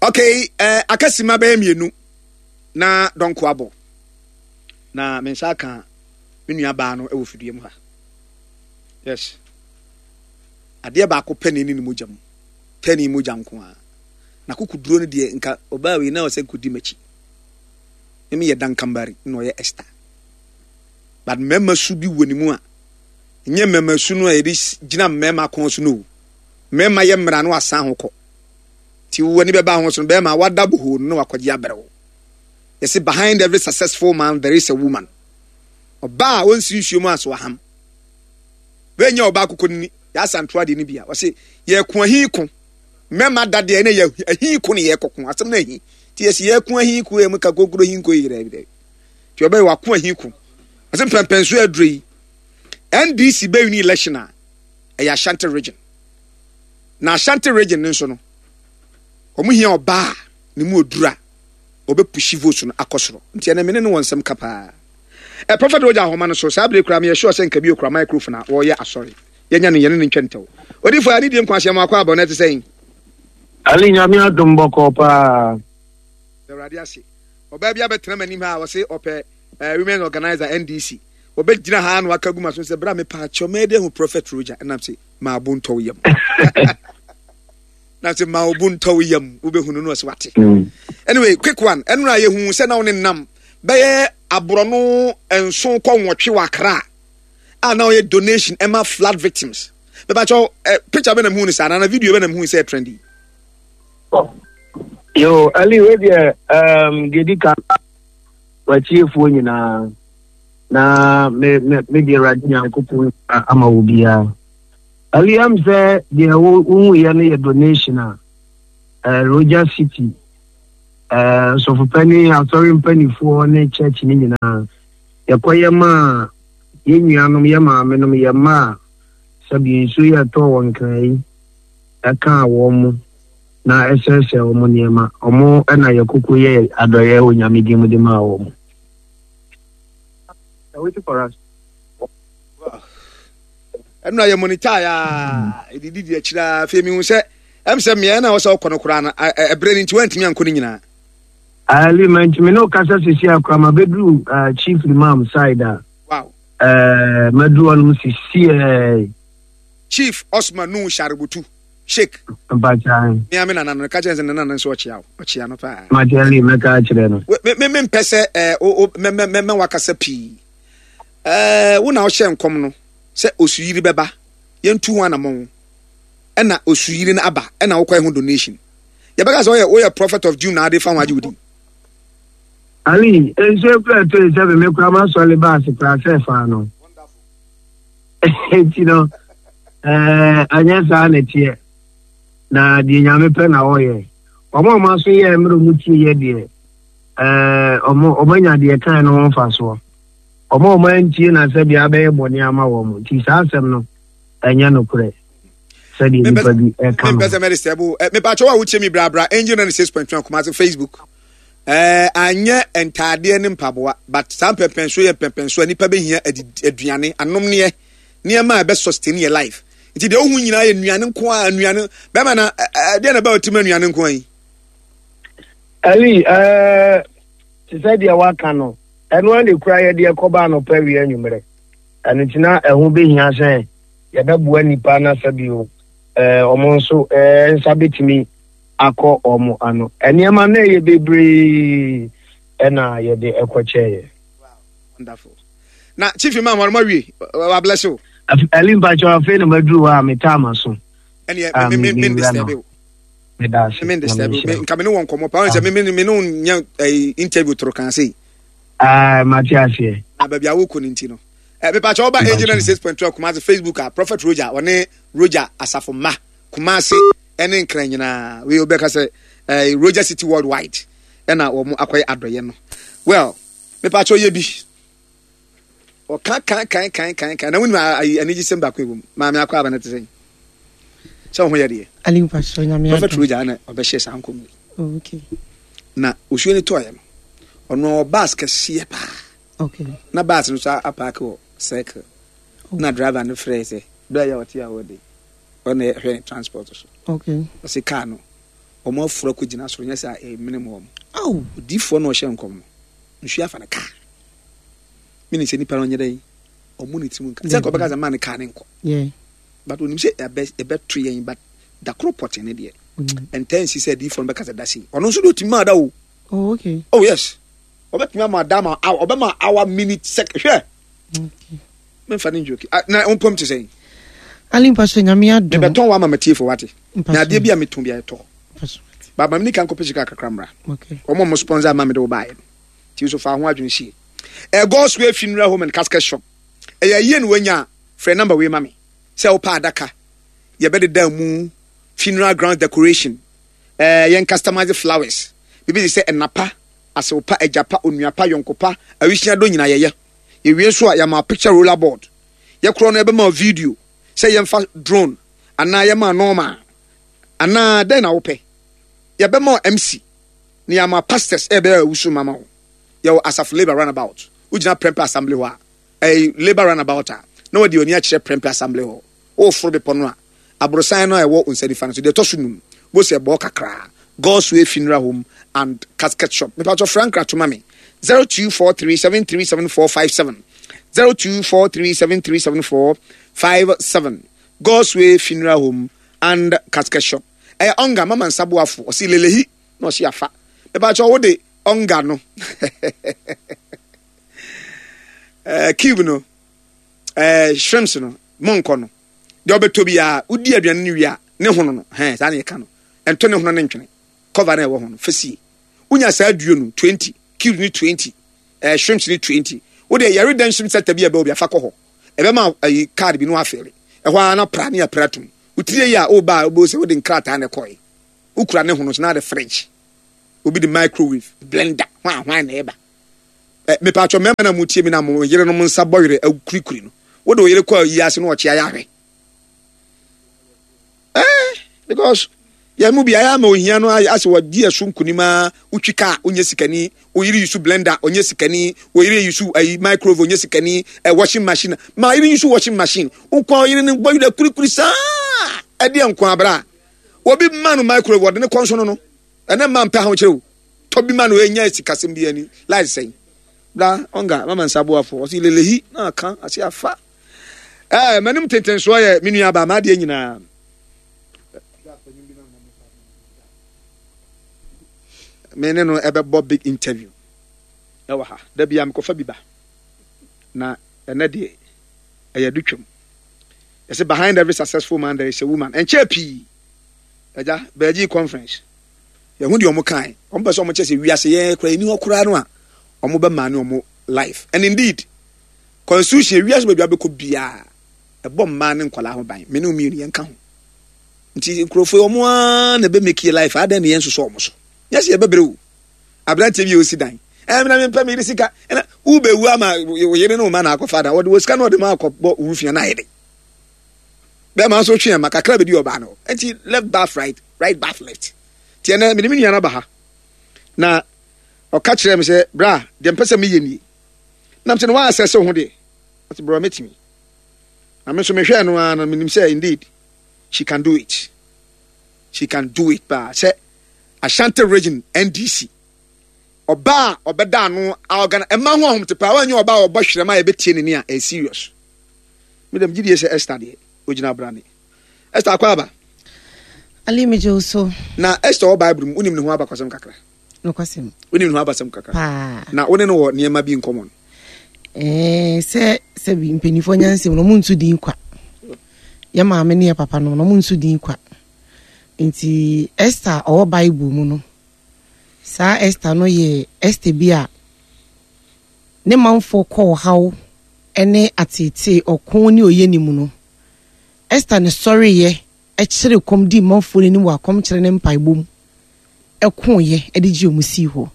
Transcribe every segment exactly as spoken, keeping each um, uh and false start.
Okay, uh, akasima bɛyɛ mmienu na dɔnko abɔ na me nsa aka me nua baa no wɔ fidua mu ha. Yes, adeɛ baako pɛ na ɛni ne mogya mu, pɛ ne mogya nko a na kukuduro no deɛ, nka ɔbaa wei na ɔsɛ nkɔdi m'akyi. Mimi yɛ Dankambari na ɔyɛ Esther, but mmarima su bi wɔ ne mu a nyɛ mmarima su no a yɛde gyina mmarima kɔn so no o. Mmarima yɛ mmara no asan ho kɔ nti w'ani bɛba ho so no, bɛrima wada bohoo no na wakɔgye abrɛ wo. Yɛsɛ behind every successful man there is a woman. Ɔbaa a ɔnsi nsuo mu aso aham wɛnyɛ ɔbaa koko nini yɛasa ntoa deɛ no bi a ɔse yɛko ahi ko. Mmarima da deɛ ɛna yɛ ahi ko ne yɛkɔko asɛm no ahi nti yɛsi yɛko ahi ko yɛ mu ka kokoro hi nko yi dɛ dɛ nti ɔbɛyɛ wako ahi ko. Ɔsɛ mpɛmpɛnso aduro yi N D C bɛyi ne election a ɛyɛ Ashanti Region, na Ashanti Region no nso no, wɔn hia ɔbaa ne mu oduru a ɔbɛpush votes no akɔ soro. Nti ɛnɛ mene ne wɔ nsɛm ka paa. Ɛ Prophet Roger ahoma no so saa bere kura meyɛ sure sɛ nka bi okura microphone a wɔreyɛ asɔre. Yɛnya no, yɛne ne ntwa ntɛw. Odifo a ne die nkwa ahyɛ mu akɔ abɔ na ɛte sɛn? Ali, Nyame adom, bɔkɔɔ paa. Awurade ase. Ɔbaa bi abɛtena m'anim ha a wɔse ɔpɛ uh, women organizer N D C. Ɔbɛgyina ha na waka gu ma so sɛ bra, mepa akyɛw, mɛyɛ dɛ hu Prophet Roger. Ɛnam sɛ maa bo ntɔ wo yam na sɛ maa wo bo ntɔ wo yam, wobɛhunu no. Ɔsɛ wate. Anyway, quick one. Ɛno a yɛhu sɛ na wo ne nam bɛyɛ aborɔno nson kɔ nwɔtwe wɔ Akra a na ɔyɛ donation ɛma flood victims. Bɛbakyɛw ɛ picture bɛ na muhu no saa na video bɛ na muhu sɛ trendy? Yo, Ali, wei deɛ um, deɛ di ka, watiefoɔ nyinaa na me me me deɛ, Awurade Nyankopɔn ama wo biara. Ali, am sɛ deɛ wohuyɛ no yɛ donation a uh, Roger City uh, nsɔfopani, asɔre mpanifoɔ ne church ne nyinaa yɛkɔyɛ maa yɛn nuanom, yɛ maamenom, yɛ mma a sɛbi nsuo yɛ ɛtɔ wɔ Nkran yi ɛkaa wɔn mu na ɛsɛesɛe wɔn nneɛma. Wɔn ɛna yɛkoko yɛ adɔyɛ wɔ Nyame din mu de maa wɔn. Waiting for us. Ɛno a yɛ monitor a ɛdidi di akyire a, afei mehu sɛ ɛm sɛ mmeaeɛ no a wɔ sɛ wokɔ no koraa no, ɛberɛ no nti woantumi ankɔ no nyinaa. Ali, mantumi ne wokasa sisi akora ma bɛduru uh, Chief Imam side a wow uh, maduru hɔnom sisi. Chief Osman Nu Sharubutu Sheik. Mpakyan. Mea me nana no ka kyerɛ sɛ ne nana nso ɔkyea wo, ɔkyea no paa. Mate, mɛka akyerɛ no. Me me mempɛ sɛ ɛɛ o mɛ mɛ mɛ wakasa pii. ɛɛ wo na ɔhyɛ nkɔm no sɛ osuyiri bɛba, yɛntu ho anammɔn, ɛna osuyiri no aba, ɛna wokɔ ɛho donation. Yɛbɛka sɛ ɔyɛ woyɛ prophet of doom na ade fa ho agye wo din? Ali, nsuo kura ɛtɔ yi sɛ me kura ma sɔle baase kura sɛ fa no nti no, ɛɛ anyɛ saa na ɛteɛ na deɛ Nyame pɛ na ɔyɛ. Ɔmo a ɔmo aso yɛ mmerɛ ɔmo tie yɛ deɛ, ɛɛ ɔmo ɔmo anya deɛ kan no ho mfasoɔ. Ɔmo a ɔmo antie na sɛ deɛ abɛyɛ bɔne ama wɔn. Nti saa asɛm no ɛnyɛ nokorɛ sɛdeɛ nipa bi ɛka no. Mempɛ sɛ mɛde sɛ bo. Mepakyɛw a wotie mi brabra Angel ninety-six point one Kumase Facebook. ɛɛ anyɛ ntaadeɛ ne mpaboa, but saa mpɛmpɛnso yɛ mpɛmpɛnso a nipa bɛhia aduane, anomneɛ, nneɛma a ɛbɛ sustain yɛ life. Nti deɛ wohu nyinaa yɛ nnuane nko a nnuane bɛrima na ɛdeɛ na ɛbɛ ɔtim nnuane nko a yi. Ali, ɛɛ te sɛ deɛ waka no, ɛno ara na ekura yɛ deɛ kɔba anɔpa, awia, anwummerɛ. Ɛno nti na ɛho bɛhia sɛ yɛbɛboa nipa na sɛbio ɛɛ ɔmo nso ɛɛ nsa bɛtumi akɔ ɔmo ano. Nneɛma no ɛyɛ bebree ɛna yɛde ɛkɔkyɛɛ. Wonderful. Na Chief Imam wɔn mo awie, wa bless you. Ali, mpakyɛ, afei na maduru hɔ a metaa ma so. Ɛneɛ me me me disturb you. Meda ase. Me disturb you. Nka me ne wɔn nkɔmɔ paa sɛ me me me ne wɔn nya ɛyi interview toro kan se. Aa, mate aseɛ. Na baabi a wokɔ ne nti no, ɛ mepakyɛ wɔba Angel ninety six point two Kumasi Facebook a, Prophet Roger, ɔne Roger asafo mma Kumasi ɛne Nkran nyinaa. Wei obɛka sɛ ɛɛ Roger City Worldwide ɛna wɔn akɔyɛ adɔyɛ no. Well, mepakyɛ yɛ bi ɔka kan kan kan kan kan na wonim ayi anigye sɛm baako ɛwɔ mu. Maame akɔ aba no te sɛn sɛ wo ho yɛ deɛ? Ali, mpakyɛ, Nyame Prophet Roger na ɔbɛhyɛ saa nkɔm yi. Oh, okay. Na osuo no tɔɔyɛ no, ɔno ɔwɔ bus kɛseɛ paa. Okay. Na bus no so apark wɔ circle. Oh. Na driver no frɛ sɛ berɛ a yɛ ɔte a wɔde ɔna ɛhwɛ ne transport so. Okay. Ɔsɛ car no Wɔn aforo akɔgyina soro, nyɛ sɛ ɛmene mu wɔn. Odiifoɔ na ɔhyɛ nkɔm no, nsuo afa ne kaa. Meaning sɛ nipa no ɔnyɛ dɛn, ɔmo ne tirim nka. Sɛ nka ɔbɛka sɛ maa ne kaa ne nkɔ. But onim sɛ ɛbɛ ɛbɛto yɛn, but da koro pɔtee ne deɛ. Ɛntaa nsi sɛ adiifoɔ no bɛka sɛ da sei. Ɔno nso de otumi maa da o. Oh, okay. Oh yes. Ɔbɛtumi ama da ma hour, ɔbɛma hour, minute, second. Hwɛ. Okay. Memfa ne njoki. Ah, na wompam te sɛn? Ali, mpaso Nyame adom. Mebɛtɔn wa ama matiefo wate. Na adeɛ bi a metɔn bi a ɛtɔ. Ba ma mini kan kɔpɛ sika kakra mmra. Okay. Wɔn a wɔn sponsor ama mede wo baeɛ no. Ti nso fa ho adwene sie. Ɛ God's Way Funeral Home and Casket Shop. Ɛyɛ ayie na wanya a, frɛ number wei ma me. Sɛ wopɛ adaka, yɛbɛdeda mu, funeral ground decoration, ɛɛ yɛn customize flowers, biribi te sɛ ɛnapa, asew pa, agya pa, onua pa, yɔnko pa, awisia dɔ nyinaa yɛyɛ. Yɛwie nso a, yɛama picture roller board. Yɛkorɔ no yɛbɛma video sɛ yɛmfa drone anaa yɛma normal anaa dɛn na wopɛ. Yɛbɛma M C na yɛama pastors ɛbɛyɛ awusu mama wo. Yɛwɔ Asafo Labour Runabout. Wogyina Prempeh Assembly hɔ a, ɛyɛ Labour Runabout a, na wɔde ani akyerɛ Prempeh Assembly hɔ. Woforo bepɔ no a, aborosan no a ɛwɔ nsa nifa no so deɛ ɛtɔ so num bó sɛ ɛbɔ kakraa. God's Way Funeral Home and Casket Shop. Mepatɔ Frank Ratoma me zero two four three seven three seven four five seven, zero two four three seven three seven four five seven. God's Way Funeral Home and Casket Shop. Ɛyɛ ɔnga mama nsaboafo ɔsi lelehi na ɔsi afa. Mepatɔ wo de ɔnga no ɛɛ cube no, ɛɛ shrimps no, mɔnkɔ no deɛ ɔbɛtɔ biara, wodi aduane no wie a, ne hono no hɛn saa na yɛka no, ɛnto ne hono ne ntwene cover na ɛwɔ ho no fɛsie. Wonya saa duo no twenty, cubes ne twenty, ɛɛ shrimps ne twenty. Wode yɛre dan shrimp center bi a ɛbɛ obi afa kɔ hɔ, ɛbɛma ayi card bi no afeele ɛhɔ ara na pra ne apra tum. Wotiri yi a ɔba a, wobɛhu sɛ wode nkrataa na ɛkɔɛ wokura ne hono so na ade fridge, obi de microwave, blender, hwan hwan na ɛba. Ɛ mepatwɔ mmarima na mo tie mi na mo yerenom nsa bɔ werɛ akurikuri no, wode wo yere kɔ ayi ase na ɔkye ayɛ ahwɛ ɛɛ because yɛn mu bi ayɛ ama ohia no ayɛ asɛ wɔdi ɛso nkunim a, wotwi kaa onyɛ sikani, oyere yi so blender onyɛ sikani, oyere yi so ayi microwave onyɛ sikani, ɛ washing machine ma yere yi so washing machine nkwa, oyere no bɔ werɛ kurikuri saa ɛdeɛ nkwa abira obi ma no microwave wɔde ne kɔn so no no ɛnɛ mma mpɛ ahokyerɛ o, tɔ bi ma no ɛnya sikasɛm bi ani light sɛn bra ɔnga mama nsa boafo ɔsi lelehi na aka ase afa. Ɛɛ m'anim tentensoɔ yɛ me nua ba m'adeɛ nyinaa me ne no ɛbɛbɔ big interview ɛwɔ ha. Da bia mekɔfa bi ba na ɛnɛ deɛ ɛyɛ do twam. Yɛsɛ behind every successful man there is a woman. Ɛnkyɛɛ pii agya bɛɛgye conference, yɛho deɛ ɔmo kae, ɔmo pɛ sɛ ɔmo kyɛ sɛ wiase yɛn kora yɛni hɔ koraa no a, ɔmo bɛma ne ɔmo life. And indeed, constitution wiase baabi abɛkɔ biara ɛbɔ mmaa ne nkwadaa ho ban. Me ne mmienu yɛn ka ho nti nkurɔfoɔ yi ɔmo ara na ɛbɛ make life adan ne yɛn nsoso ɔmo so nyɛ sɛ yɛbɛbrɛ o. Aberanteɛ bi a osi dan, ɛɛ mena mempɛ me yere sika, ɛna wobɛwu ama wo yere ne wo ma na akɔfa da wɔde wɔ sika na ɔde ma akɔbɔ wo fia na ayɛ de bɛrima nso twe ɛma kakra bɛdi ɔbaa no nti left bath right, right bath left. Tiɛ nɛ mede me nua no aba ha na ɔka kyerɛ me sɛ bra, deɛ mpɛ sɛ meyɛ nie, nam sɛ no waasɛ sɛ wo ho deɛ ɔte brɛ mɛtumi na me nso mehwɛɛ no ara no, menim sɛ indeed she can do it, she can do it paa. Sɛ Ashanti Region N D C ɔbaa a ɔbɛda ano a ɔgana ɛma ho ahomte paa, wanyɛ ɔbaa a ɔbɔ hwerɛma a yɛbɛtie ne ne a ɛyɛ serious. Medam gyidie sɛ Esther deɛ ogyina abrane. Esther, akɔ aba. Ali, megye wo so. Na Esther wɔ Bible mu, wonim ne ho abakɔsɛm kakra? Nokwasɛm. Wonim ne ho abasɛm kakra? Paa. Na wo ne no wɔ nneɛma bi nkɔmmɔ no? Ɛɛ, sɛ sɛbi mpanimfoɔ nyansɛm no, ɔmo nso din kwa. Yɛ maame ne yɛ papa no, ɔmo nso din kwa. Nti Esther a ɔwɔ Bible mu no, saa Esther no yɛ Esther bi a ne manfoɔ kɔ ɔhaw ne ateetee, ɔko ne oyɛ ne mu no, Esther ne sɔreyɛ kyerɛ kɔm di manfoɔ n'anim wɔ akɔmkyerɛ ne mpaebɔ mu, ɛkoeɛ de gye ɔmo sii hɔ.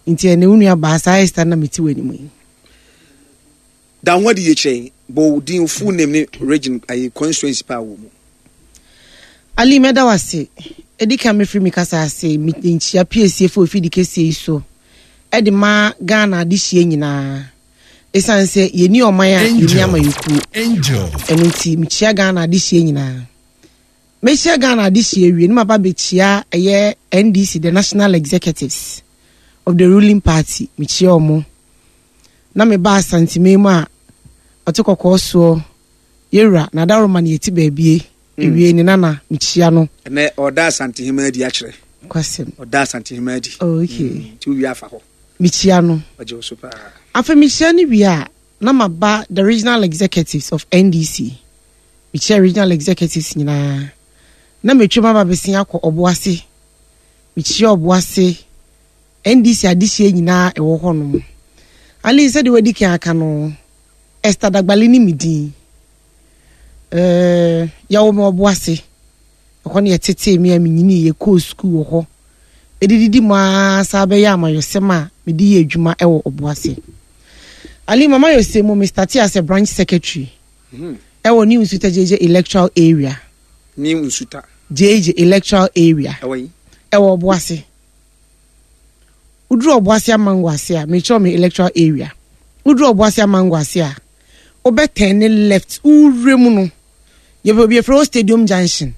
Nti ɛne wo nua baa saa Esther na mete wɔ anim yi. Da ho adi yɛ kyerɛ, bɔ wo din, full name ne region ayi constituency paa wɔ mu. Ali, mɛda wo ase. Ɛdi kan, mɛfiri mi kasa ase nkyia piesiefo efidi kɛseɛ yi so ɛde ma Ghana adehyia nyinaa, ɛsiane sɛ yɛni ɔman a yɛni amayɛkuo. Ɛno nti mekyia Ghana adehyia nyinaa. Mehyia Ghana adehyeɛ awie ne maba bɛkyia ɛyɛ N D C, the national executives of the ruling party. Mekyia ɔmo na meba Asanteme mu a ɔte kɔkɔɔ soɔ, yɛwura Nadaroma ne yɛti baabie ewie ne nana, mekyia no. Ɛnɛ ɔda Asantehema adi akyerɛ. Kwasɛm. Ɔda Asantehema adi. Oh, okay. Nti wowie afa hɔ. Mekyia no. Ɔgye wo so paa. Afei mehyia no wie a, na maba the regional executives of N D C. Mekyia regional executives nyinaa na metwam aba bɛsia akɔ Ɔboase. Mekyia Ɔboase N D C adehyia nyinaa ɛwɔ hɔnom. Ali, sɛdeɛ wadi kan aka no, Esther Dagbale ne me din. ɛɛ yɛwɔ me Ɔboase, ɛhɔ ne yɛtetee me a menyini, yɛkɔɔ sukuu wɔ hɔ, ɛdididi mu ara saa bɛyɛ amayɔsɛm a mede yɛ adwuma ɛwɔ Ɔboase. Ali, mama yɛsɛ mu, me start as a branch secretary ɛwɔ New Nsuta J J electoral area. New Nsuta. J J electoral area. Ɛwɔ yi. Ɛwɔ Ɔboase. Woduru Ɔboase Amango ase a, mekyerɛ me electoral area, woduru Ɔboase Amango ase a, wobɛtɛn ne left, wowura mu no, yɛbɛ obi yɛfrɛ hɔ Stadium Junction.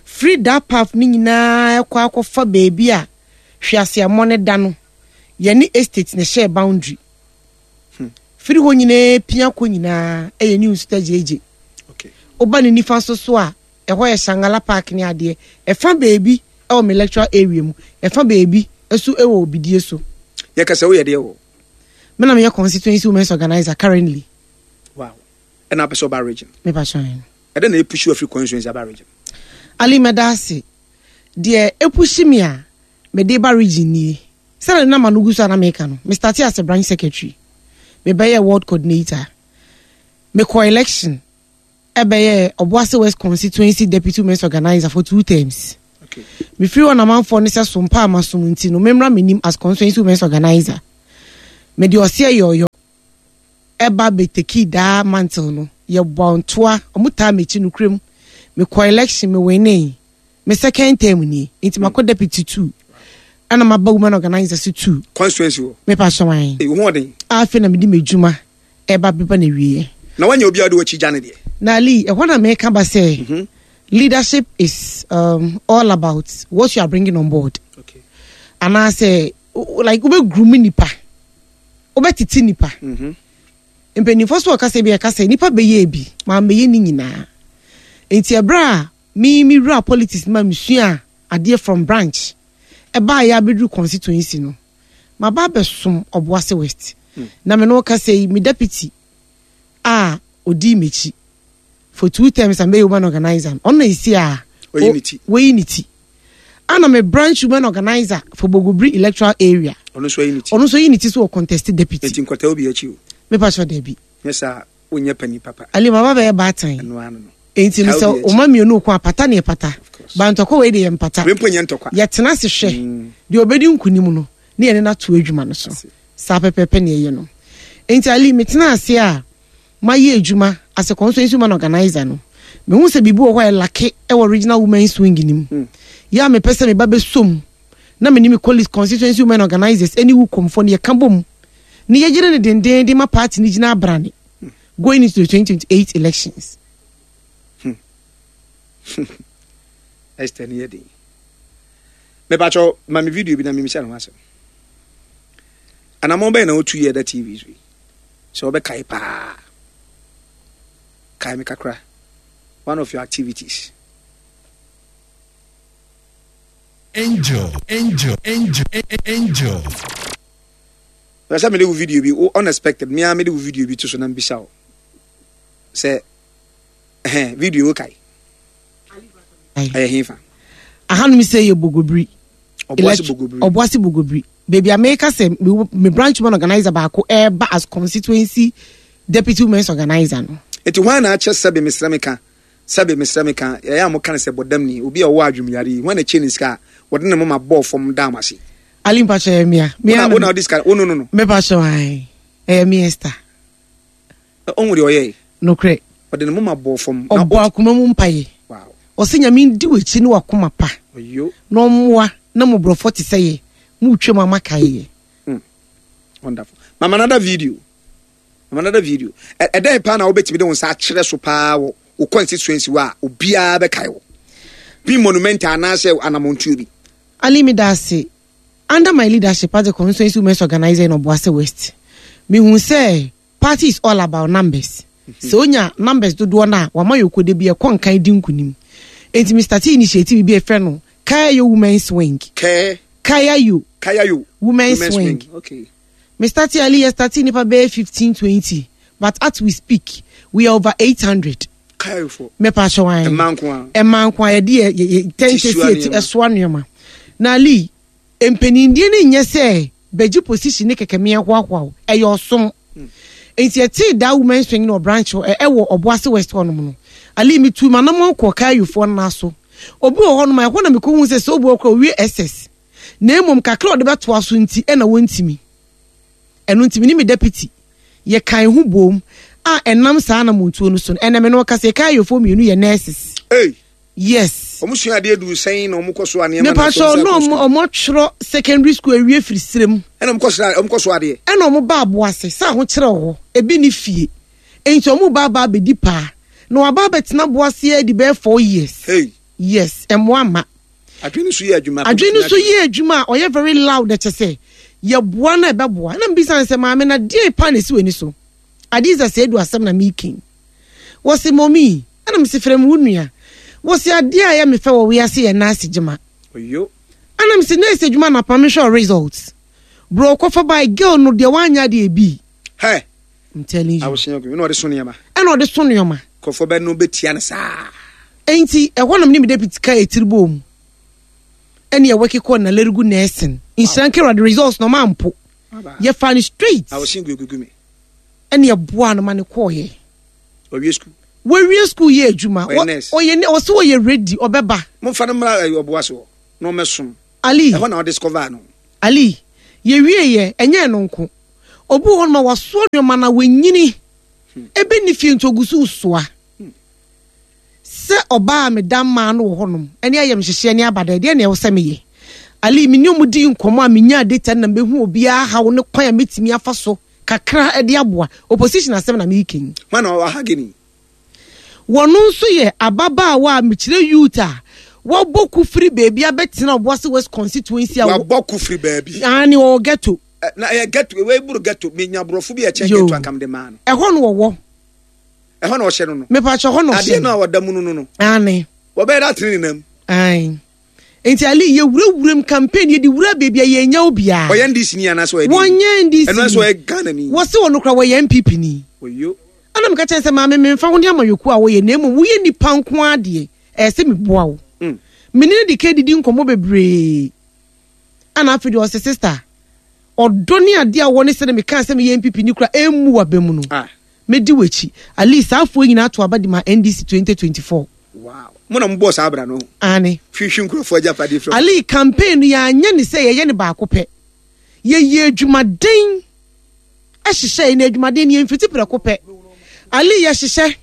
Firi that path ne nyinaa ɛkɔ akɔfa baabi a Hweaseammɔ ne da no, yɛne estate na ɛhyɛ boundary. Firi hɔ nyinaa pia kɔ nyinaa ɛyɛ New Nsuta J J. Okay woba ne nifa so so a, ɛhɔ yɛ Shangala Park ne adeɛ. Ɛfa baabi ɛwɔ me electoral area mu, ɛfa baabi nso ɛwɔ Obidie so. Yɛka sɛ woyɛ deɛ wɔ. Me na meyɛ constituency women's organizer currently. Wow, ɛna apɛ sɛ ɔba region. Mepa hyɛn. Ɛdɛ na ɛpush afiri constituency aba region? Ali, mɛda ase. Deɛ ɛpush me a mede ba region nie, sɛdeɛ nama no gu so a na meka no, me start as a branch secretary, mebɛyɛ ward coordinator, mekɔ election ɛbɛyɛ Ɔboase West constituency deputy women's organizer for two terms. Okay mefiri hɔ namanfoɔ ne sɛ sompa a masom nti no, memmra m'anim as constituency women's organizer. Mede ɔseɛ yɔyɔ ɛba bɛtake daa mantle no, yɛbɔ ntoa, ɔmo taa m'akyi no kurom. Mekɔ election, mewinee. Me second term nie, nti makɔ deputy two ɛna maba women organizer so two. Constituency wɔ. Mepa hyɛ. Ɛyi ho ɔden. Afei na mede m'adwuma ɛba beba na wieɛ. Na wanya obi a ɔde w'akyi gya ne deɛ. Na Ali, ɛhɔ na meka ba sɛ leadership is um, all about what you are bringing on board. Okay anaasɛ o- like wobɛgroom nipa, wobɛtete nipa. Mhm. Mpanimfoɔ so ɔkasa bi, ɛka sɛ nipa bɛyɛ bi maa mbɛyɛ ne nyinaa. Nti ɛberɛ a me me wura politics ma mesua adeɛ from branch ɛbaa yɛ abɛduru constituency no, maba abɛsom Ɔboase West. Na me no kasa yi, me deputy a odi m'akyi for two terms a mbɛyɛ woman organizer no, ɔno na esi a Oyi ne ti. Wɔyi ne ti, ana me branch woman organizer for Bogobiri electoral area. Ɔno nso ayi ne ti. Ɔno nso yi ne ti so wɔ contest deputy. Enti nkɔtaa obi akyi o. Mepa kyerɛ, dabi. Nyɛ saa, wonyɛ pani papa. Ali, maba bɛyɛ baatan. Ɛno ano no. Enti no Taa sɛ obi akyi. ɔma mmienu ko a, pata ne pata. Course. Ba ntɔkwa wei de yɛ mpata. Wei mpo nyɛ ntɔkwa. Yɛtena ase hwɛ deɛ ɔbɛdi nkonim no ne yɛne no ato adwuma no so. Ase. Saa pɛpɛɛpɛ ne ɛyɛ no. Enti Ali, metena ase a mayɛ adwuma as a constituency woman organizer no, mehu sɛ biribi wɔ hɔ a ɛlack ɛwɔ regional women's wing nim. Mm. Yɛ a mepɛ sɛ meba bɛsom na mene me colleagues, constituency women organizers ɛne wo kɔmfoɔ no, yɛka bom ne yɛgyere ne dendenden ma party no gyina abrane going into the twenty twenty-eight elections. Esther ni yɛ den. Mepakyɛw, ma me video bi na memisa ne ho asɛm. Anammɔn bɛyɛ na wotu yɛ da T V so yi sɛ wobɛkae paa, kae me kakra, one of your activities. Angel, angel, angel, angel. Pɛ sɛ mede wo video bi wo unexpected mea mede wo video bi to so na mbisa wo sɛ ɛhɛn video wo kae ɛyɛ hefa? Ahanom sɛ yɛ Bogobiri. Ɔboase Elect- Bogobiri. Ɔboase Bogobiri, baabi a meka sɛ me, me branch woman organizer baako ɛreba as constituency deputy women's organizer no. Nti hwan na akyɛ sɛbe mesrɛ me ka, sɛbe mesrɛ me ka, ɛyɛ a moka no sɛ bɔdam ni, obi a ɔwɔ adwemyare yi, hwan na kyɛ ne sika a wɔde ne moma bɔɔ fam da mo ase? Ali, mpakyɛ, ɛyɛ mea. Wona wona wode sika wo no no no Mepakyɛ, ae, ɛyɛ me, Esther. Ɔhu deɛ ɔyɛe. Nokorɛ. Ɔde ne moma bɔɔ fam na ɔbɔ ɔt- akoma mu mpaeɛ. Wow. Ɔsɛ Nyame ndi w'akyi ne wakoma pa ɔyo na ɔmmoa na mmɔborɔfoɔ te sɛ yɛ motwa mu amakae yɛ. Wonderful. Mama another video, mama another video. Ɛ- ɛdɛn paa na wobɛtumi de wo nsa akyerɛ so paa wɔ wo constituency hɔ a obiara bɛkae wo? Bi monumental anaasɛ anamontuo bi. Ali, medase. Under my leadership as a constituency women's organizer in Obuasi West, mehu sɛ party is all about numbers. Sɛ onya numbers dodoɔ no a, wama yɛ okode bi ɛkɔ nkan di nkunim. Enti me start initiative bi a ɛfrɛ no Kayayo Women's Wing. Kɛ Kayayo Kayayo Women's Wing. Okay. Me start Ali, yɛ start nipa bɛyɛ fifteen twenty, but as we speak, we are over eight hundred. Kayayo fo. Mepa ahyɛ wan. Mmaa nko a. Ɛma nko a yɛde yɛ yɛ tɛntɛ Ti si soa eti nneɛma. Ɛsoa nneɛma. Na Ali, mpanindie no nyɛ sɛ bɛgye position ne kɛkɛ meɛ hoahoa wo, ɛyɛ ɔsom. Nti ɛtee daa women's wing no branch hɔ, ɛ- ɛwɔ Ɔboase West hɔnom no, Ali, metu manam kɔ Kayofoɔ no so. Obi wɔ hɔnom a ɛhɔ na mekɔhu sɛ sɛ obi wɔ kora owie S S na mmom kakra a ɔde bɛtoa so nti ɛna wɔntimi. Ɛno nti me ne me deputy yɛkan ho bom a ɛnam saa anamontuo no so no, ɛnɛ me no ɔka sɛ Kayofoɔ mmienu yɛ nurses. Hey. Yes. Ɔmo sua adeɛ du sɛn na ɔmo kɔ so a nneɛma na Mepa afei kyɛw ɔmo na sɛ akɔ ɔmo sukuu? Ɔmo twerɛ secondary school awie firi serem. Ɛna ɔmo kɔ so ɔmo kɔ so adeɛ. Ɛna ɔmo ba Aboase sɛ ahokyerɛ wɔ hɔ, ebi ne fie, nti ɔmo ba aba abɛdi paa na waba abɛtena Aboase adi bɛyɛ four years. Hey. Yes, ɛmoa ma. Adwene so yɛ adwuma. Adwene no so yɛ adwuma a ɔyɛ very loud, ɛkyɛ sɛ yɛboa no, ɛbɛboa. Ɛna mbisa no sɛ, maame, na deɛ pa na esi w'ani so? Adiza sɛ edu asɛm na meeking wɔsi mɔmi, ɛna mesi frɛ mu wo nua, wɔsi adeɛ a ɛyɛ me fɛ wɔ wiase yɛ nurse gyema. Oyo. Ɛna mesi nurse adwuma na pam hwɛ results bro kɔfa by girl no deɛ wanya adeɛ bi. Hɛ. I'm telling you. Awosea ogu ɛna ɔde so nneɛma. Ɛna ɔde so nneɛma. Nkurɔfoɔ bɛ no bɛtia no saa. Enti ɛhɔ nom ne me deputy ka etiri bɔ mu ɛne ɛwɔ kekɔ na Nalerigu nursing nhyira nkɛrɛ de results na ɔma mpo yɛfa no straight. Awosea gu egugu mi. Ɛne ɛboa no ma ne kɔɔyɛ. Ɔwie sukuu. Wɔwie school yɛ adwuma. Ɔyɛ Wɔ- nurse. Ɔyɛ ne ɔsɛ wɔyɛ ready, ɔbɛba. Momfa no mmra ɛyɛ ɔboa so na ɔmɛsom. Ali. Ɛhɔ na ɔdiscover no. Ali, yɛwie yɛ ɛnyɛ no nko, obi wɔ hɔ nom a wasoa nneɛma na wanyini ebe ne fie nti ogu so soa sɛ ɔbaa a meda mmaa no wɔ hɔnom ɛne ayɛ nhyehyɛ ne abada deɛ na ɛwɔ sɛ meyɛ. Ali, me ne ɔmo di nkɔmɔ a menya data na mehu obiara haw ne kwan a metumi afa so kakra de aboa opposition asɛm na meeking. Hwan na ɔwɔ ha gini? Wɔno nso yɛ ababaawa a mekyerɛ youth a wɔbɔ kufiri beebi abɛtena Ɔboase West constituency a wabɔ kufiri baabi. Ane wɔwɔ ghetto. Ɛ, na ɛyɛ ghetto wei buru ghetto, menya borɔfo bi a ɛkyɛn Yo. ghetto ankam de maa no. Ɛhɔ no wɔwɔ. Ɛhɔ na ɔhyɛ no no. Mepakyɛ, hɔ na adeɛ ɔhyɛ. no a ɔda mu no no no Ane. Wɔbɛyɛ dɛ atene ne nam. Ae, nti Ali, yɛwurawuram campaign, yɛde wura baabi a yɛnya obiara. Ɔyɛ N D C ni anaasɛ ɔyɛ Wɔnyɛ N D C. Ɛno nso ɔyɛ Ghana ni. Wɔse wɔ no kora wɔyɛ N P P ni. Oyo. Ɛna meka kyɛn sɛ, maame, memfa ho ne amayɔkuo a wɔyɛ, na mmom woyɛ nipa nko adeɛ, ɛyɛ sɛ meboa wo. Mm. Mene no de ka didi nkɔmmɔ bebree, ana afei deɛ ɔsɛ, sister, ɔdɔ ne adeɛ a wɔ ne sɛ ne mekaa sɛ meyɛ N P P ni kora ɛmmu waba mu no. Ah. Mɛdi w'akyi. At least saa afoɔ nyinaa to aba de ma N D C twenty twenty-four. Wow, mo na mobɔɔ saa abra no? Ane. Hwehwɛ nkurɔfoɔ agyapadeɛ firi. Ali, campaign no yɛanyɛ ne sɛ yɛyɛ ne baako pɛ. Yɛyɛ adwumaden ɛhyehyɛ yi na adwumaden no yɛmfiti prɛko pɛ. Ali, yɛhyehyɛ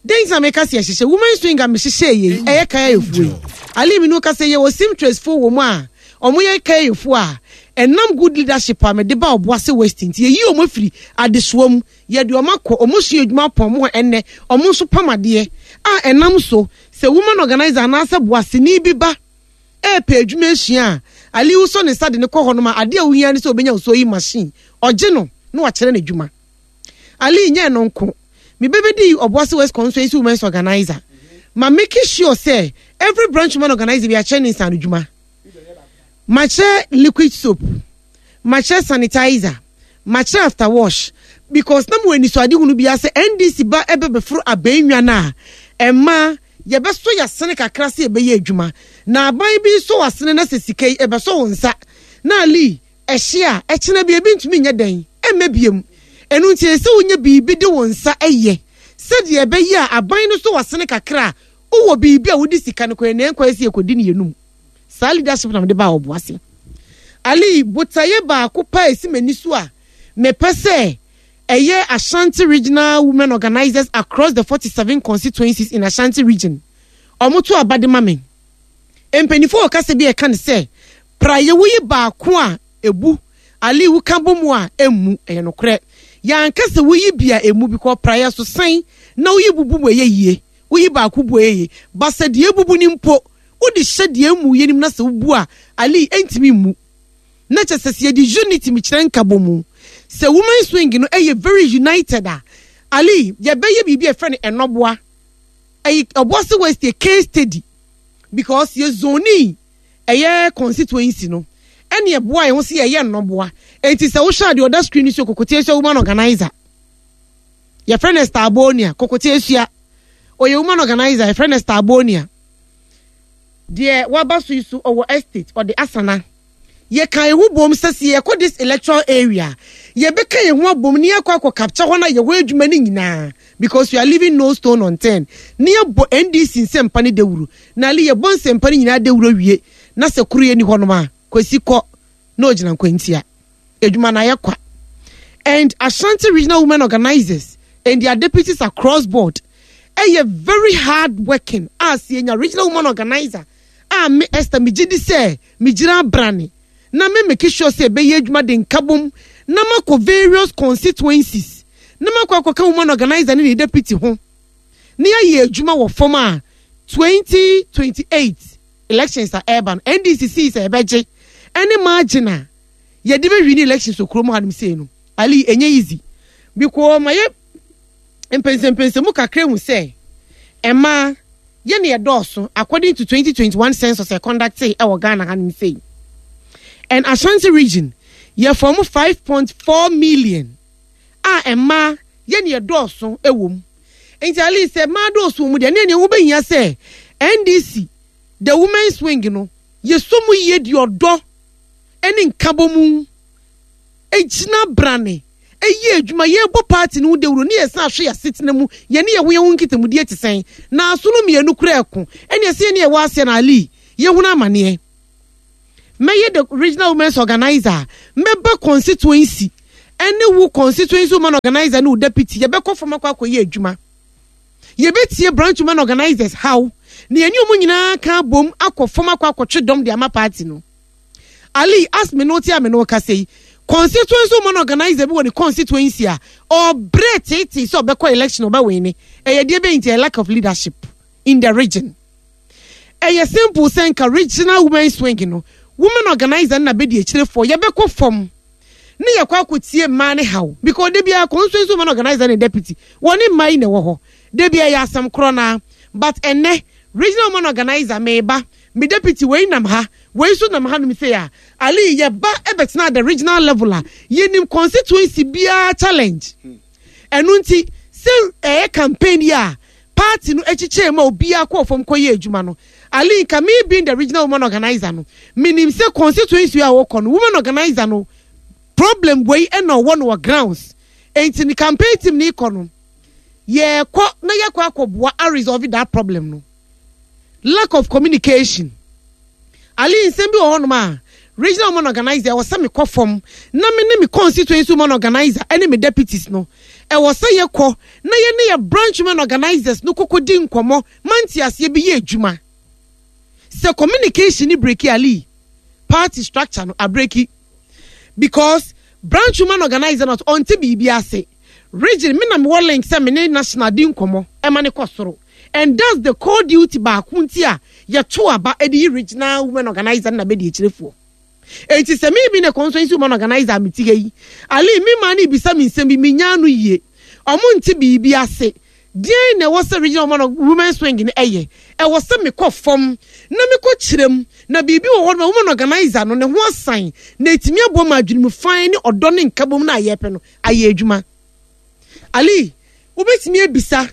den sɛ meka sɛ yɛhyehyɛ women swing a mehyehyɛ yei ɛyɛ kayayefoɔ yi. Ali, me no ka sɛ yɛwɔ seamstress foɔ wɔ mu a ɔmo yɛ kayayefoɔ a ɛnam good leadership a mede ba Ɔboase West nti yɛyi ɔmo afiri adesoa mu, yɛde ɔmo akɔ, ɔmo sua adwuma pɔn ɔmo hɔ. Ɛnnɛ ɔmo nso pam adeɛ a ɛnam so sɛ woman organizer anaasɛ boaseni bi ba ɛɛpɛ adwuma asua a, Ali, wosɔ ne nsa de ne kɔ hɔ nom a, adeɛ a wohia ne sɛ obɛnya wo sewing machine, ɔgye no na wakyerɛ no adwuma. Ali, nyɛ no nko, mebɛbɛdi Ɔboase West constituency women's organizer ma make sure sɛ every branch woman organizer bi akyerɛ ne nsa no dwuma. Makyerɛ liquid soap, makyerɛ sanitizer, makyerɛ after wash, because na mo anisoade hunu bi sɛ N D C ba ɛbɛbɛforo abɛnwa no a, ɛma yɛbɛsɔ yɛasene kakra sɛ yɛbɛyɛ adwuma na aban bi nso wasene na sɛ sika yi ɛbɛsɔ wo nsa na Ali, ɛhye a ɛkyena bi ebi ntumi nyɛ dɛn ɛmmɛ biem. Ɛno nti ɛsɛ wonya biribi de wo nsa ɛyɛ sɛdeɛ ɛbɛyɛ a aban no so wasene kakra a wowɔ biribi a wode sika no kɔɛ na ɛnkɔɛ sɛ yɛkɔdi ne yɛnum. Saa leadership na mede baa Ɔboase. Ali, botaeɛ baako pa a ɛsi m'ani so a mepɛ sɛ ɛyɛ Ashanti Regional women organizers across the forty-seven constituencies in Ashanti Region ɔmo to aba de ma me. Mpanyinfoɔ wɔ kasa bi a ɛka ne sɛ praeɛ woyi baako a ebu. Ali, woka bɔ mu a emu ɛyɛ nokorɛ. Yɛanka sɛ woyi bi a emu bi kɔ praeɛ so sɛn na woyi bubu mu ɛyɛ yie, woyi baako bu ɛyɛ yie, basa deɛ ebubu ni mpo Wode hyɛ deɛ emu yɛ nim na sɛ wobu a, Ali, ɛntumi mmu. Na kyɛ sɛ sɛ yɛde unity mekyerɛ nkabɔ mu sɛ women's wing no ɛyɛ very united a, Ali, yɛbɛyɛ biribi a ɛfrɛ no ɛnɔboa. Ɛyɛ Obuasi West yɛ case study because yɛ zone ɛyɛ constituency no ɛne ɛboa yɛn ho sɛ yɛyɛ nnɔboa. Enti sɛ wohwɛ adeɛ ɔda screen so, Kokote Esua woman organizer, yɛfrɛ no Starbonia. Kokote Esua ɔyɛ woman organizer, yɛfrɛ no Starbonia. Deɛ waba so yi so ɔwɔ Estate, ɔde Asana. Yɛka yɛn ho bom sɛ sɛ yɛkɔ this electoral area, yɛbɛka yɛn ho abom ne yɛakɔ akɔ capture hɔ na yɛhɔ adwuma no nyinaa because we are leaving no stone unturned ne yɛbɔ N D C nsɛmpa ne dawuro. Na ale yɛbɔ nsɛmpa no nyinaa dawuro wie na sɛ koro yɛ ni hɔnom a, Kwasi kɔ na ogyina nkwantia adwuma na ayɛ kwa. And Ashanti Regional Women Organizers and their deputies across board ɛyɛ very hard working. A sɛ yɛnya regional woman organizer a, me Esther megye di sɛ megyina abrane na me make sure sɛ ɛbɛyɛ adwuma de nkabom na makɔ various constituencies na makɔ akɔka woman organizer ne ne deputy ho na yɛayɛ adwuma wɔ fam a, twenty twenty-eight elections a ɛreba no, N D C sii sɛ ɛbɛgye ɛne margin a yɛde bɛwi ne elections wɔ kurom hanom sei no, Ali, ɛnyɛ easy because ma yɛ mpɛnsɛmpɛnsɛmu kakra hu sɛ ɛmaa yɛne yɛdɔɔso according to twenty twenty-one census ɛ conducted ɛwɔ Ghana hanom sei. And Ashanti Region yɛ form five point four million a mmaa yɛne yɛdɔɔso ɛwɔ mu. Nti at least sɛ mmaa dɔɔso wɔ mu deɛ, ne ɛnea wobɛhia sɛ N D C the women's wing no yɛsɔ mu yie de ɔdɔ ɛne nkabɔ mu egyina brane ɛyɛ adwuma. Yɛbɔ party no ho dawuro ne yɛsan ahwɛ yɛ asetena mu, yɛne yɛho yɛho nkitamudie te sɛn na aso no mmienu kura ɛko ɛne ɛsɛ yɛne yɛwɔ aseɛ. Na Ali, yɛhunu amaneɛ. Mɛyɛ the regional women's organizer, mɛba constituency ɛne wo constituency woman organizer ne wo deputy, yɛbɛkɔ fam akɔ akɔyɛ adwuma. Yɛbɛtie branch woman organizers how na yɛne ɔmo nyinaa ka bom akɔ fam akɔ akɔtwe dɔm de ama party no. Ali, as me no te a me no kasa yi, constituency woman organizer bi wɔ ne constituency a ɔbrɛ tete sɛ ɔbɛkɔ election ɔbɛwin ne ɛyɛ deɛ bɛyi. Nti ɛyɛ lack of leadership in the region. Ɛyɛ simple sɛ nka regional women's wing no women organizer no na bɛdi akyirefoɔ, yɛbɛkɔ fam ne yɛkɔ akɔtie mmaa ne haw because de bia constituency woman organizer ne deputy wɔne mmaa yi na ɛwɔ hɔ de bia ɛyɛ asɛm korɔ naa. But ɛnɛ regional woman organizer meba, me deputy wei nam ha, wei nso nam ha nom sɛ a, Ali, yɛba ɛbɛtena at the regional level a, yɛnim constituency biara challenge. Ɛno nti sɛ ɛyɛ campaign yi a party no akyikyɛ mu a, obiara kɔɔ fam kɔyɛ adwuma no. Ali, nka me being the regional woman organizer no, menim sɛ constituency a wɔkɔ no, woman organizer no problem wei ɛna ɔwɔ no wɔ grounds. Enti ne campaign team ne kɔ no, yɛkɔ na yɛkɔ akɔboa a resolve that problem no. Lack of communication, Ali, nsɛm bi wɔ hɔnom a regional woman organizer ɛwɔ sɛ mekɔ fam na me ne me constituency woman organizer ɛne me deputies no, ɛwɔ sɛ yɛkɔ na yɛne yɛ branch woman organizers no kɔkɔ di nkɔmmɔ mante aseɛ bi yɛ adwuma. Sɛ communication ni break, Ali, party structure no abreak because branch woman organizer not ɔnte biribi ase. Region me na mewɔ link sɛ me ne national di nkɔmmɔ ɛma ne kɔ soro, and that's the core duty baako nti a yɛto aba ɛde yi regional women organizer na bɛdi akyirefoɔ. Eti sɛ mi bi ne constituency woman organizer a meti ha yi, Ali, mi maa ne bisa mi nsɛm bi mi nya no yie, ɔmo nte biribi ase. Deɛn na ɛwɔ sɛ regional woman women's wing no ɛyɛ? Ɛwɔ sɛ mekɔ fam na mekɔ kyerɛ mu na biribi wɔ hɔ no woman organizer no ne ho asan na etumi aboa ma adwene fan ne ɔdɔ ne nkabom na ayɛ no ayɛ adwuma. Ali, wobɛtumi abisa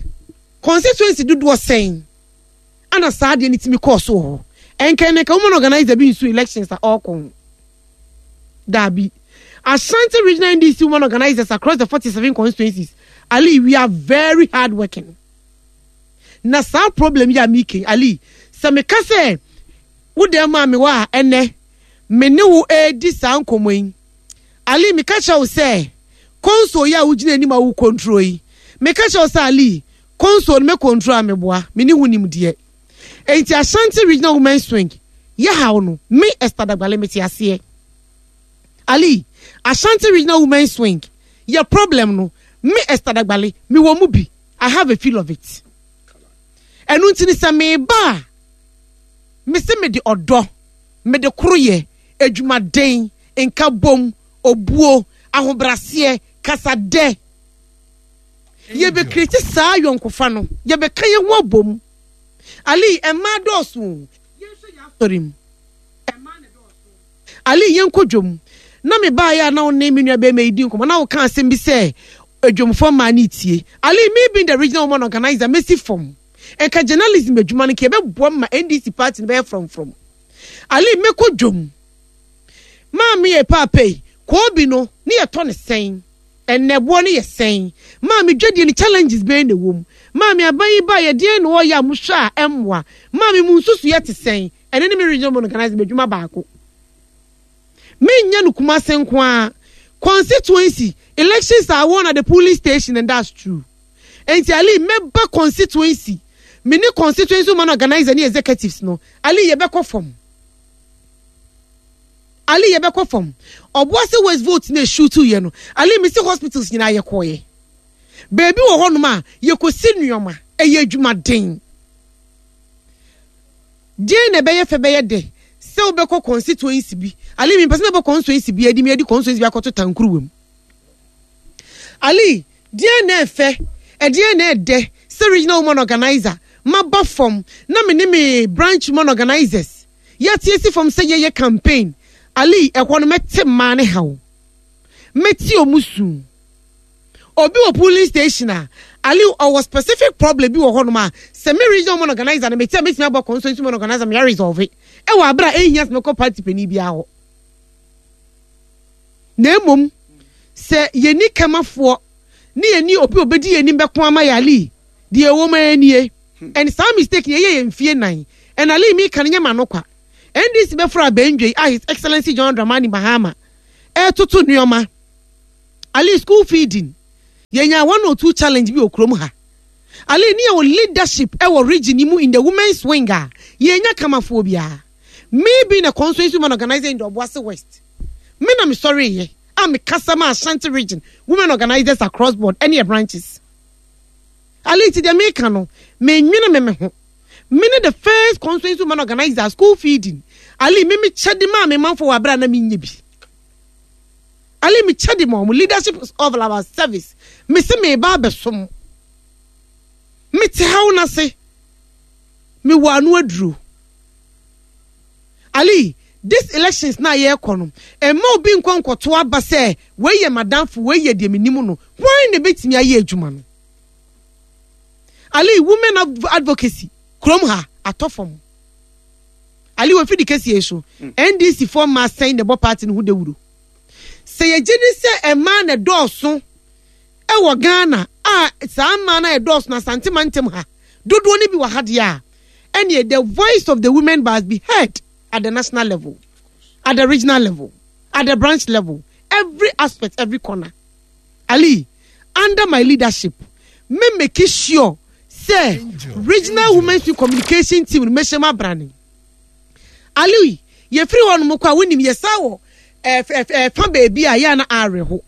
constituency dodoɔ sɛn ana saa adeɛ no tumi kɔɔ so wɔ hɔ? Ɛnkɛn ne nka woman organizer bi nso elections a ɔrekɔ ho daabi. Ashanti Regional N D C woman organizers across the forty-seven constituencies, Ali, we are very hard working. Na saa problem yi a meke, Ali, sɛ meka sɛ wo dɛm maa me wɔ a, ɛnɛ me ne wo edi saa nkɔmmɔ yi, Ali, meka kyerɛ wo sɛ console yi a wogyina anim a wo control yi, meka kyerɛ wo sɛ, Ali, console no me control a meboa me ne ho nimdeɛ. Enti Ashanti Regional Women's Wing yɛ haw no, me Esther Dagbale mete aseɛ. Ali, Ashanti Regional Women's Wing yɛ problem no, me Esther Dagbale me wɔ mu bi. I have a feel of it. Ɛno nti ni sɛ meba a Mese mede ɔdɔ, mede koroyɛ, adwumaden, nkabom, obuo, ahobraseɛ, kasadɛ. Yɛbɛcreate saa ayɔnkofa no, yɛbɛka yɛn ho abom. Ali, mmaa dɔɔso o. Yɛnhwɛ yɛn asɔre mu. Mmaa na ɛdɔɔso. Ali, yɛnkɔ dwom. Na me baeɛ a na wo ne me nua bɛrima yi di nkɔmmɔ na woka asɛm bi sɛ adwomfoɔ mmaa ne tie. Ali, me being the regional woman organizer, mɛsi fam. Nka journalism adwuma no nka yɛbɛboa ma N D C party no bɛyɛ frɔmfrɔm. Ali, mɛkɔ dwom. Maame yɛ paapa yi, koobi no ne yɛtɔ ne sɛn? Ɛnɛ boɔ no yɛ sɛn? Maame, dwadie no challenges bɛn na ɛwɔ mu? Maame, aban yi ba yɛ deɛn na ɔyɛ a mohwɛ a ɛmmoa? Maame, mu nsusu yɛ te sɛn? Ɛne ne me regional woman organizer adwuma baako. Menyɛ no Kumase nko ara. Constituency elections are won at the polling station, and that's true. Nti Ali, mɛba constituency, me ne constituency woman organizer ne executives no. Ali, yɛbɛkɔ fam. Ali, yɛbɛkɔ fam. Obuasi West vote na eshoot yɛ no, Ali, me si hospitals nyinaa yɛkɔɔyɛ. Beebi wɔ hɔnom a yɛkɔsi nneɛma, ɛyɛ adwumaden. Deɛ na ɛbɛyɛ fɛ bɛyɛ dɛ sɛ wobɛkɔ constituency bi. Ali, mi mpɛ sɛ mɛbɔ constituency bi adi mi adi constituency bi akɔto tankuruwa mu. Ali, deɛ na ɛfɛ, ɛdeɛ na ɛdɛ sɛ regional woman organizer maba fam na me ne me branch woman organizers yɛte si fam sɛ yɛyɛ campaign. Ali, ɛhɔ no mɛte mmaa ne haw, mɛte ɔmo su. Obi wɔ polling station a, Ali, ɔwɔ specific problem bi wɔ hɔnom a sɛ me regional woman organizer no mete a, mɛtumi abɔ constituency woman organizer mea resolve ɛwɔ abere a ɛnhia sɛ mɛkɔ party panin biara hɔ. Na mmom sɛ yɛni kamafoɔ ne yɛni obi a obɛdi yɛn anim bɛko ama yɛ, Ali, deɛ ɛwɔ mu ara nie. And saa mistake yɛyɛ yɛ mfie nan. And Ali, mi ka no nyɛ ma no kwa. N D C bɛforo abɛndwe a His Excellency John Dramani Mahama ɛɛtoto nneɛma. Ali, school feeding, yɛnya one or two challenge bi wɔ kurom ha. Ali, ne yɛwɔ leadership ɛwɔ region yi mu in the women's wing a yɛnya kamafoɔ biara. Me being a constituency woman organizer in the Obuasi West, me na me sɔre yɛ a me kasa ma Ashanti Region women organizers across board ɛne yɛ branches. Ali, ti deɛ meka no, me nwene me me ho. Me ne the first constituency woman organizer, school feeding. Ali, me me kyɛ de maa me manfo wɔ abere a na me nye bi. Ali, me kyɛ de ma ɔmo. Leadership is all about service. Me se me ba abɛsom, me te haw n'ase, me wɔ ano aduro. Ali, this elections na yɛrekɔ no, ɛma obi nkɔ nkɔto aba sɛ wei yɛ madamfo, wei yɛ deɛ menim no. Hwan na ebɛtumi ayɛ adwuma no? Ali, women advocacy kurom ha atɔ fam. Ali, wɔ fidi kɛseɛ so N D C foɔ mmaa sɛn na ɛbɔ party no ho dawuro? Sɛ yɛgye di sɛ mmaa na ɛdɔɔso ɛwɔ Ghana a, saa mmaa na ɛdɔɔso na Asante mantam ha dodoɔ no bi wɔ ha deɛ a, ɛneɛ the voice of the women must be heard at the national level, at the regional level, at the branch level, every aspect, every corner. Ali, under my leadership, me make sure sɛ regional women's communication team no mehyɛ mu abrane. Ali, yɛfiri hɔ nom kɔ a, wonim yɛsa wɔ ɛfa baabi a yɛa na awerɛho.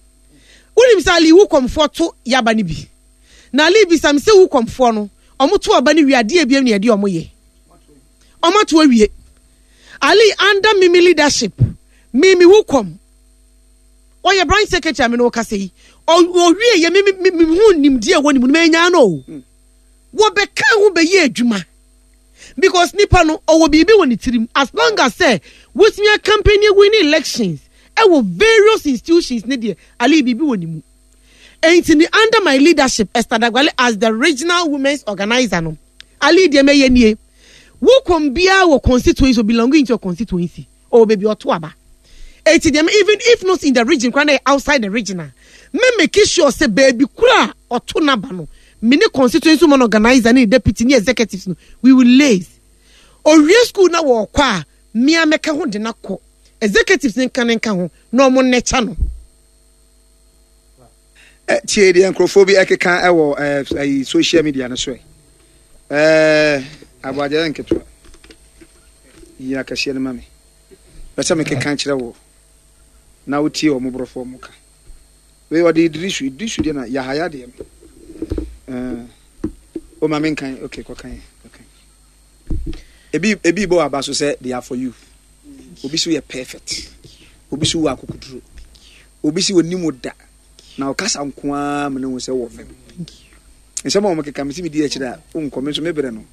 Wonim sɛ, Ali, wo kɔmfoɔ to yaba no bi na Ali bisam sɛ wo kɔmfoɔ no ɔmo to aba no wie adeɛ ebiem ne yɛde ɔmo yɛ ɔmo ato awie. Ali, under mimi leadership, mimi wo kɔm ɔyɛ branch secretary a me ne ɔkasa yi, ɔwie yɛ mimi mimi ho nimdeɛ ɛwɔ ne mu no mɛnya no o. Wɔbɛka ho bɛyɛ adwuma because nipa no ɔwɔ biribi wɔ ne tirim. As long as sɛ wotumi a campaign win elections ɛwɔ various institutions ne deɛ, Ali, biribi wɔ ne mu. Enti ni under my leadership, Esther Dagbale as the regional women's organizer no, Ali, deɛ mɛyɛ nie: wokɔm biara wɔ constituency or belonging to a constituency or baabi ɔto aba. Eti deɛ, even if not in the region kora na yɛ outside the region a, me make sure sɛ baabi kora a ɔto n'aba no, me ne constituency woman organizer ne deputy ne executives no, we will liaise. Owie school na wɔɔkɔ a, mmea mɛka ho de na kɔ executives ne nka ne nka ho na ɔmo nnɛkya no. Tie deɛ nkurɔfoɔ bi ɛkeka ɛwɔ ɛɛ social media no so. Ɛ ɛɛ aboagye yɛ nketewa yi akɛseɛ no ma me bɛsɛ mekeka kyerɛ wɔ na wotie ɔmo borɔfo ɔmo ka. Wei ɔde Idrisu, Idrisu deɛ na Yahaya deɛ no ɛɛ o ma me nkan. Okay, kɔkan kɔkan. Ebi ebi bɔ aba so sɛ they are for you. Obi so yɛ perfect. Obi so wɔ akokoduro. Obi si onim wo da. Na ɔkasa nko ara ma ne ho sɛ wɔ vim. Nsɛm a wɔn keka mi si mi di akyire a nkɔ mi nso mi brɛ no.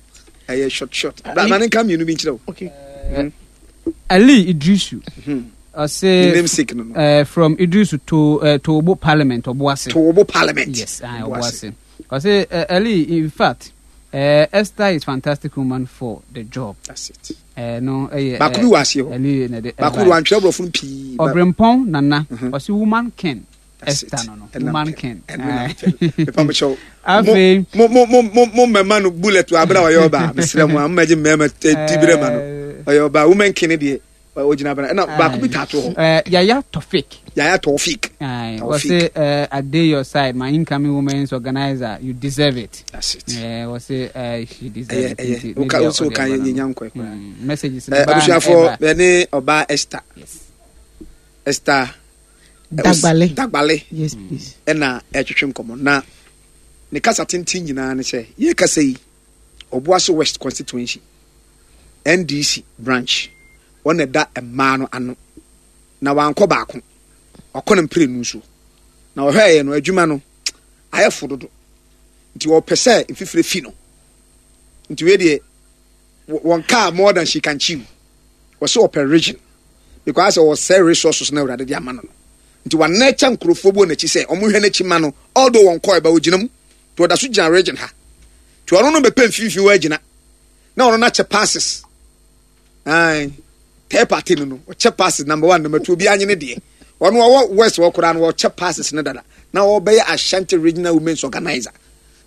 Ɛyɛ short short. Bra ma ne nka mmienu bi nkyerɛ wo. Okay. Mm. Ali Idrisu. Ɔse Ne namesake no no. uh, from Idrisu to uh, Tobo Parliament Obuasi. Tobo Parliament. Yes, uh, Obuasi. Ɔse uh, Ali, in fact, uh, Esther is fantastic woman for the job. That's it. Uh, no, uh, Baako bi wɔ aseɛ hɔ. Ali na de. Baako bi wɔ antwerɛ borɔfo no pii. Ba- Ɔbrempɔn Nana. Ɔse woman king. That's Esther it. no no. Ɛna Woman mpɛ. king. Ɛno na mpɛ. Mepa mo kyɛw. Afei- Mo mo mo mo mo mmɛma no bullet wɔ abere a ɔyɛ ɔbaa. Mesrɛ mo a mo mmɛgye mmarima ti bere ma no. Ɔyɛ ɔbaa woman king ne deɛ ɔgyina abena. Ɛna baako bi taato hɔ. Uh, Yaya Tofik. Yaya Tofik. Aye. Taufik. Ɔse uh, I dey your side, my incoming women's organizer. You deserve it. That's it. Uh, ɔse uh, she deserve Ɛyɛ it. ɛyɛ. Nti, Woka ne deɛ wosi woka ɔde yɛ aba no. nya nkɔ koraa. Mm, messages Ɛ no baa na abusuafoɔ ɛba. yɛne ɔbaa Esther. Yes. Esther Dagbale. Dagbale. Yes, please. Ɛna ɛtwetwe nkɔmɔ na ne kasa tenten nyinaa ne sɛ yɛ kasa yi Obuasi West constituency N D C branch wɔn na ɛda mmaa no ano na wankɔ baako, ɔkɔ no mprenu so na ɔhwɛɛyɛ no adwuma no ayɛ fo dodo nti ɔpɛ sɛ mfifire fi no nti wei deɛ wɔn kaa more than she can chew. Wɔsɛ ɔpɛ region because ɔsɛ resources na Awurade de ama no no nti wanɛkyɛ nkurɔfoɔ bi wɔ n'akyi sɛ ɔmo hwɛ n'akyi ma no, although wɔn kɔɔ ɛba ogyina mu nti ɔda so gyina region ha nti ɔno no bɛpɛ mfimfini wɔ agyina na ɔno n'akyɛ passes ayi third party no no ɔkyɛ passes number one, number two, obi anyi ne deɛ ɔno ɔwɔ west wɔ koraa no ɔkyɛ passes ne dada na ɔbɛyɛ Ashanti Regional Women's Organizer.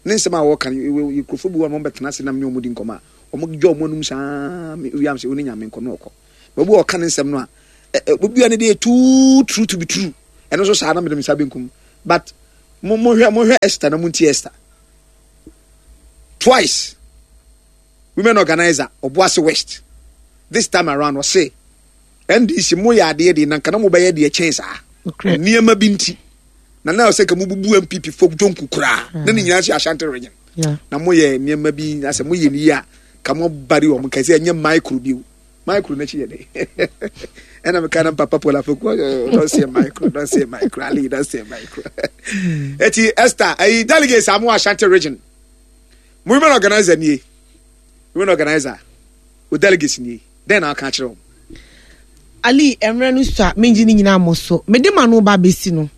Ne nsɛm a wɔka no, nkurɔfoɔ bi wɔ wɔn bɛtena ase nam ne wɔn di nkɔmɔ a wɔn dwa wɔn anum saa wiam sɛ wɔn nyame nkɔ no ɔkɔ baabi a ɔka ne nsɛm no a ɛ obi a ne deɛ too true to be true. Ɛno nso saa na mede me nsa benkum, but mo mo hwɛ mo hwɛ Esther na mo nti Esther twice women organizer Obuasi West. This time around ɔse N D C mo yɛ adeɛ deɛ na nka na mo bɛyɛ deɛ kyɛn saa nneɛma bi nti na na ɔsɛ ka mo bubu N P P fo jonku koraa na ne nyinaa hyɛ Ashanti Region na mo yɛ nneɛma bi asɛ mo yɛ ne yie a ka mo bari wɔn kɛse ɛnyɛ micro bi o micro n'akyi yɛ dɛ ɛna meka na papa Paul Afeku, don't say micro, don't say micro, Ali, don't say micro. Eti Esther ayi delegates amu Ashanti Region mo women organizer nie, women organizer o delegates nie, den na aka kyerɛ wɔn. Ali, mmerɛ no so a mengye ne nyinaa mmɔ so mede ma no ba bɛsi no.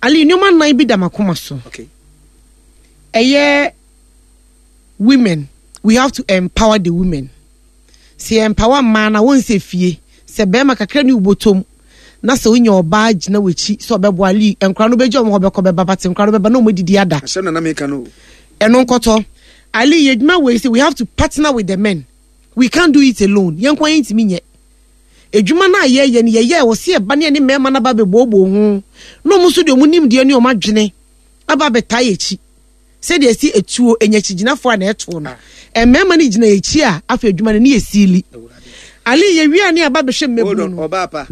Ali, nneɛma nnan bi da makoma so. Okay ɛyɛ women, we have to empower the women. Sɛ yɛ empower mmaa na wɔn sɛ fie sɛ bɛrima kakra ne wobɔtɔm na sɛ wonya ɔbaa gyina w'akyi sɛ ɔbɛboa, Ali, nkora no bɛgya ɔmo hɔ bɛkɔ bɛba bate nkora no bɛba na ɔmo didi ada. Asɛm na na meka no. Ɛno nkɔtɔ. Ali, yɛ adwuma wei sɛ we have to partner with the men. We can't do it alone. Yɛn kwan yɛn ntumi nyɛ edwuma no a yɛyɛ no yɛyɛ wɔ se ɛba ne ɛne mmarima no aba bɛbooboo ho na ɔmo nso deɛ ɔmo nimdeɛ ne ɔmo adwene aba abɛtaa yɛ akyi sɛdeɛ ɛsi etuo enya akyigyinafoɔ a na ɛtoɔ no mmarima no gyina akyi a afei adwuma no ne yɛ siili. Ali, yɛ wia ne aba bɛhwɛ Hold on. mmɛbunu no. Ɔbaa pa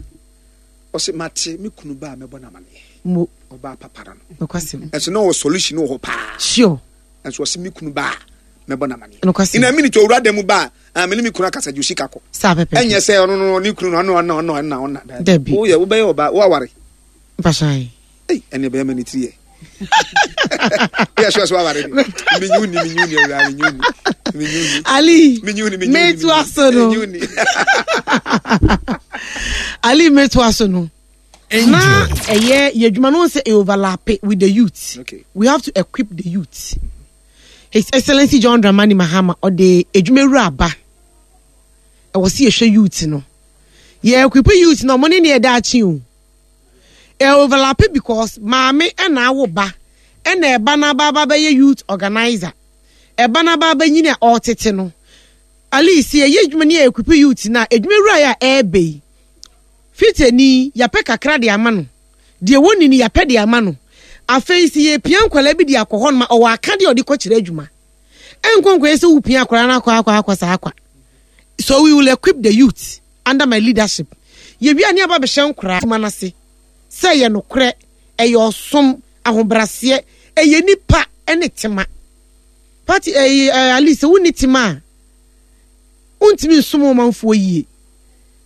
ɔsɛ mate me kunu ba a mɛbɔ n'amaneɛ. Mo. Ɔbaa papa no no Nokwasɛm. Ɛnso na ɔwɔ solution wɔ hɔ paa. Sure. Ɛnso ɔsɛ me kunu ba a mɛbɔ n'amaneɛ. Nokwasɛm. In a minute owura dan mu ba a me ne me kunu akasa gye osika kɔ. Saa pɛpɛ. Ɛnyɛ sɛ ɔno no ne kunu no ɔno ɔno ɔno ɔna ɔna. Dabi. Woyɛ wobɛyɛ ɔbaa woaware? Mpahyɛn. Ei, ɛne bɛyɛ ma ne tiri yɛ yɛ sure sɛ woaware de menyi wo ni menyi wo ni awura menyi wo ni menyi wo ni. Ali, menyi wo ni menyi wo ni. Meto aso no. Menyi wo ni. Ali, meto aso no na ɛyɛ yɛ adwuma no sɛ ɛ overlap with the youth. Okay. We have to equip the youth. His Excellency John Dramani Mahama ɔde adwuma wura aba ɛwɔ sɛ yɛhwɛ youth no, yɛ equip youth no, ɔmo ne ne yɛda akyi o. Ɛ overlap because maame ɛna awo ba ɛna ɛba n'aba aba bɛyɛ youth organizer, ɛba n'aba abɛnyini a ɔretete no. Ali, si yɛyɛ adwuma ne yɛ equip youth na adwuma wura yɛ a ɛɛbɛ yi fitani yɛpɛ kakra de ama no deɛ wɔnni no yɛpɛ de ama no. Afei si yɛpia nkwadaa bi de akɔ hɔ nom a ɔwɔ aka deɛ ɔde kɔkyerɛ adwuma ɛnkɔ nkɔyɛ sɛ wopia akwadaa no akɔ akɔ akɔ saa akwa. So we will equip the youth under my leadership. Yɛwia ne aba bɛhyɛ nkoraa adwuma no ase sɛ ɛyɛ nokorɛ, ɛyɛ ɔsom ahobraseɛ, ɛyɛ nipa ɛne tema party ɛyɛ ɛɛ Ali, sɛ wonni tema a Wontumi nsom wo manfoɔ yie.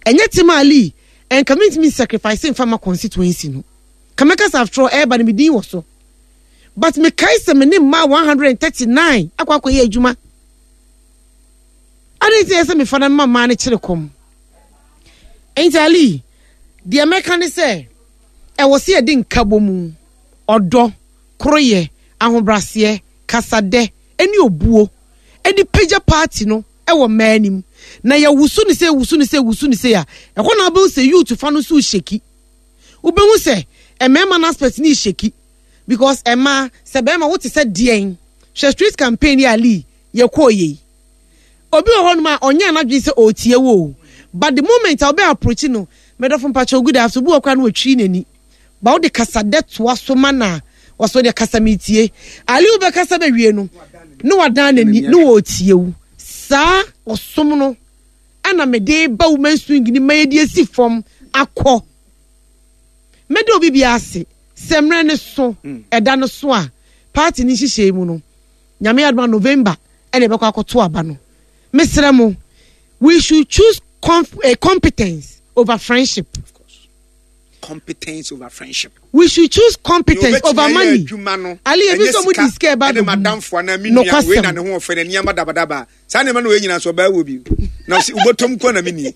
Ɛnyɛ Tema Ali, ɛnka mentumi nsacrifice mfa ma constituency no. Ka mɛka sɛ after all ɛreba no me din wɔ so. But mekae sɛ me ne mmaa one hundred and thirty nine akɔ akɔyɛ adwuma. Adɛn nti na ɛyɛ sɛ mefa na mema mmaa no kyere kɔm? Enti Ali, deɛ mɛka ne sɛ ɛwɔ sɛ yɛde nkabɔmu, ɔdɔ, koroyɛ, ahobraseɛ, kasadɛ ne obuo de pagya party no wɔ mmaa anim. Na yɛwoso no sei, woso no sei, woso no sei a, ɛhɔ na wobɛhu sɛ youth fa no nso rehyɛki. Wobɛhu sɛ mmarima no aspect no rehyɛki because mmaa, sɛ bɛrima wote sɛ deɛn? Hwɛ street campaign yi a Lee yɛkɔɔ yei. Obi wɔ hɔnom a ɔnyɛɛ n'adwene sɛ ɔretie wo o, but the moment a wobɛ approach no, medɔfo mpakyɛw good afternoon, obi wɔ hɔ koraa na watwiri n'ani. But wode kasadɛ toa so ma no a, ɔsɛ wodeɛ kasa metie. Ali wobɛkasa bɛwie no, na wadan n'ani na ɔretie wo. Saa ɔsom no ɛna mede ba women's wing no ma yɛde asi fam akɔ. Mɛda obi biara ase sɛ mmerɛ no so, ɛda no so a, party no nhyehyɛe mu no, Nyame adom a November ɛna yɛbɛkɔ akɔto aba no. Mesrɛ mo, we should choose conf eh, competence over friendship. Competence over friendship. We should choose competence over money. Ali ebi sɛ ɔmo di sika ɛba bɛ mu. Nokwasɛm. Ne ho ɔfɛ na nneɛma dabadaba. Saa nneɛma no wɔ nyinaa so ɔbaa wɔ bi. Na ɔsi ubɔtɔm nko na mi nie.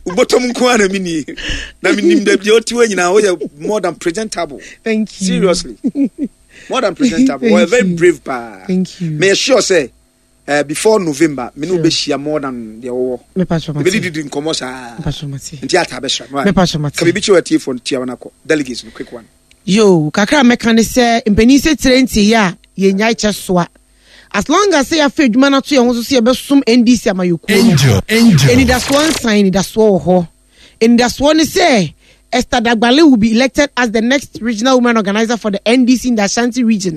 Ubɔtɔm nko na mi nie. Na mi nim dɛ deɛ ɔte hɔ nyinaa ɔyɛ more than presentable. Thank you. Seriously. More than presentable. Ɔyɛ very brave paa. Thank you. Mɛ sure sɛ. Uh, before November, me no bɛhyia more than deɛ wɔwɔ. Ɛbɛdididi nkɔmmɔ saa. Nti ata bɛhyira. Ka biribi kyerɛ atiefoɔ no tia wɔn akɔ. Delegates no, quick one. Yo, kakra a mɛka ne sɛ mpanin sɛ tire nteeɛ a yɛnyae kyɛ soa. As long as sɛ yɛafa adwuma no ato yɛn ho so sɛ yɛbɛsom N D C amayɔkuo no, Angel, Angel. Anidasoɔ nsan, anidasoɔ wɔ hɔ. Anidasoɔ ne sɛ Esther Dagbale will be elected as the next regional women organizer for the N D C in the Ashanti region.